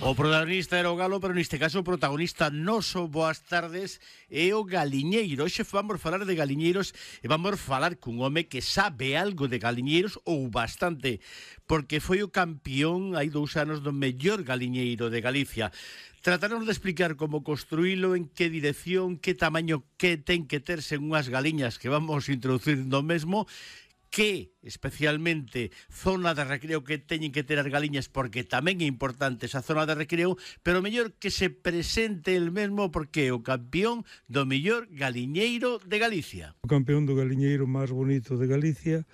O protagonista era o galo, pero neste caso o protagonista noso, boas tardes, é o galiñeiro. Hoxe vamos falar de galiñeiros e vamos falar cun home que sabe algo de galiñeiros ou bastante, porque foi o campeón hai 2 anos do mellor galiñeiro de Galicia. Trataremos de explicar como construílo, en que dirección, que tamaño que ten que terse unhas galiñas que vamos introducir no mesmo, que especialmente zona de recreo que teñen que ter as galiñas, porque tamén é importante esa zona de recreo, pero mellor que se presente el mesmo porque é o campeón do mellor galiñeiro de Galicia. O campeón do galiñeiro máis bonito de Galicia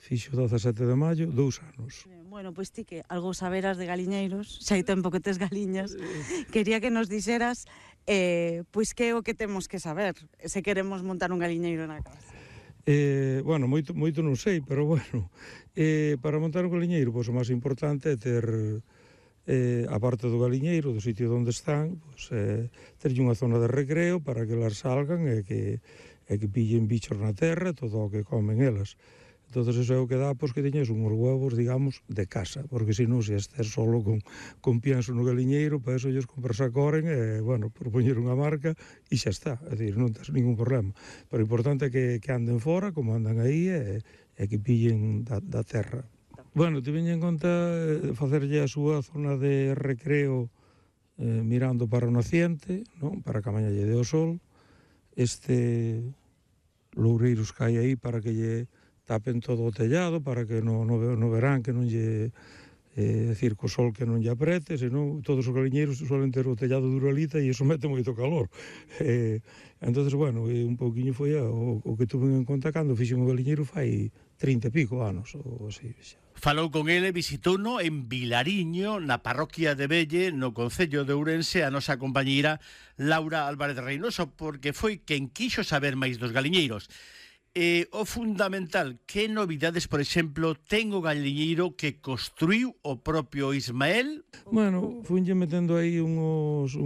fixo 17 de maio, 2 anos. Bueno, pois ti que algo saberas de galiñeiros, xa hai tempo que tes galiñas, quería que nos dixeras pois que é o que temos que saber se queremos montar un galiñeiro na casa. Bueno, moito non sei, pero bueno, para montar un galiñeiro, pois o máis importante é ter, a parte do galiñeiro, do sitio onde están, pois, terlle unha zona de recreo para que elas salgan e que pillen bichos na terra, todo o que comen elas. Entón, eso é o que dá, pois, que teñes unhos huevos, digamos, de casa, porque senón, se estés solo con pienso no galiñeiro, para eso ellos compras a coren, bueno, por poñer unha marca, e xa está, é dicir, non tens ningún problema. Pero o importante é que anden fora, como andan aí, e que pillen da terra. Bueno, te veña en conta facerlle a súa zona de recreo mirando para o naciente, non? Para que a mañá lle dé o sol, loureiros que hai aí para que lle tapen todo o tellado, para que no verán que non lle, decir, co sol que non lle aprete, senón todos os galiñeiros suelen ter o tellado de uralita e iso mete moito calor. Entonces, bueno, un pouquiño foi o que tuve en conta cando fixen o galiñeiro fai 30 e pico anos, ou así, xa. Falou con ele, visitouno en Vilariño, na parroquia de Velle, no concello de Ourense, a nosa compañeira Laura Álvarez Reynoso, porque foi quen quixo saber máis dos galiñeiros. O fundamental, que novidades, por exemplo, ten o galiñeiro que construiu o propio Ismael? Bueno, funlle metendo aí uns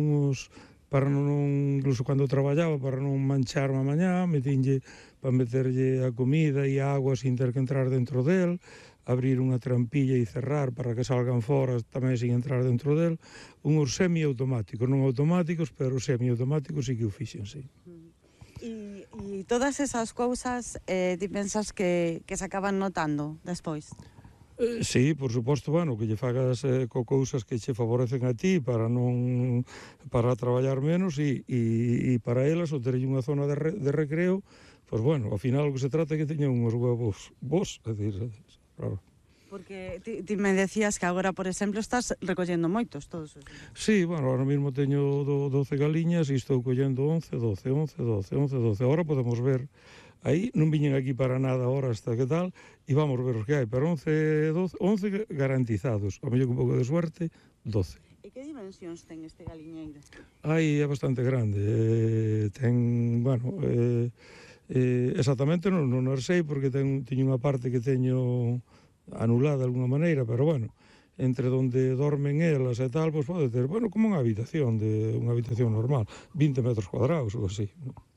para non, incluso cando traballaba, para non mancharme a mañá, metinlle para meterlle a comida e a agua sin ter que entrar dentro del, abrir unha trampilla e cerrar para que salgan fora tamén sin entrar dentro del, unhos semiautomáticos, non automáticos, pero semiautomáticos sí que o fixen, sí. E todas esas cousas, ti pensas que se acaban notando despois? Sí, por suposto, bueno, que lle fagas cousas que che favorecen a ti para traballar menos e para elas o terlle unha zona de recreo, pois bueno, ao final o que se trata é que teñan uns huevos bons, é dicir, claro. Porque ti me decías que agora, por exemplo, estás recollendo moitos todos os días. Sí, bueno, ahora mesmo teño 12 galiñas e estou collendo 11, 12. Agora podemos ver, aí non viñen aquí para nada ahora hasta que tal, e vamos ver os que hai, pero 11 garantizados, a mellor con un pouco de suerte, 12. E que dimensións ten este galiñeiro? Aí é bastante grande, ten, bueno, exactamente non sei, porque teño unha parte que teño anulada de alguna maneira, pero bueno, entre onde dormen elas e tal, pois pode ter, bueno, como unha habitación normal, 20 metros cuadrados ou así.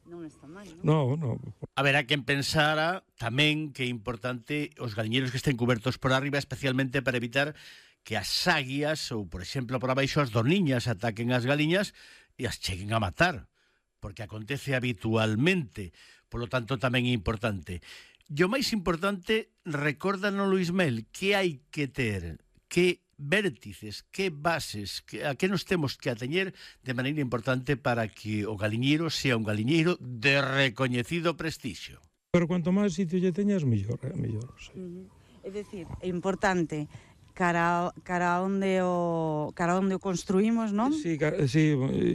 Non está mal, non? No. Haberá quen pensara tamén que é importante os galiñeiros que estén cubertos por arriba, especialmente para evitar que as águias ou, por exemplo, por abaixo as dorniñas ataquen as galiñas e as cheguen a matar, porque acontece habitualmente, polo tanto tamén é importante. E o máis importante, recórdanolo, Ismael, que hai que ter, que vértices, que bases, a que nos temos que ateñer de maneira importante para que o galiñeiro sea un galiñeiro de recoñecido prestixio. Pero cuanto máis sitio lle teñas, mellor, sí. É dicir, é importante cara onde o construímos, non? Sí,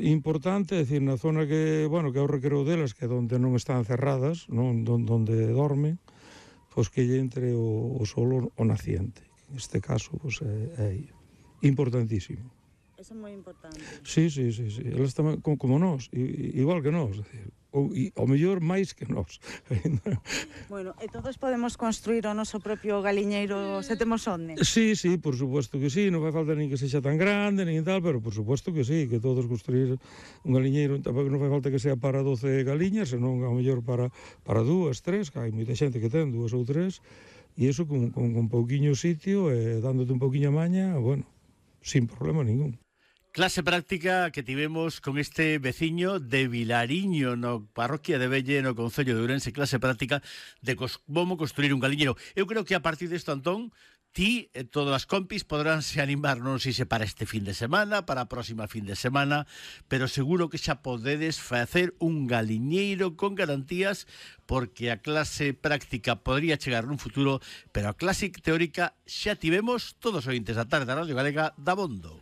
importante, é dicir, na zona que, bueno, que é o recreo delas, que é onde non están cerradas, non, onde dormen, pois que lle entre o sol o naciente. Neste caso, pois é importantísimo. Eso é moi importante. Sí. Elas tamén, como nós, igual que nós, ao mellor máis que nós. Bueno, e todos podemos construir o noso propio galiñeiro se temos onde? Sí, por suposto que sí, non vai falta nin que sexa tan grande, nin tal, pero por suposto que sí, que todos construir un galiñeiro, tampouco non vai falta que sea para 12 galiñas, senón ao mellor para 2, 3, que hai moita xente que ten 2 ou 3, e iso con pouquiño sitio, dándote un pouquiño a maña, bueno, sin problema ningún. Clase práctica que tivemos con este veciño de Vilariño, no parroquia de Velle, no concello de Ourense, clase práctica de como construir un galiñeiro. Eu creo que a partir desto, Antón, ti e todas as compis podránse animar, non sei se para este fin de semana, para a próxima fin de semana, pero seguro que xa podedes facer un galiñeiro con garantías, porque a clase práctica podría chegar nun futuro, pero a clase teórica xa tivemos todos os ointes da tarde da Radio Galega da Bondo.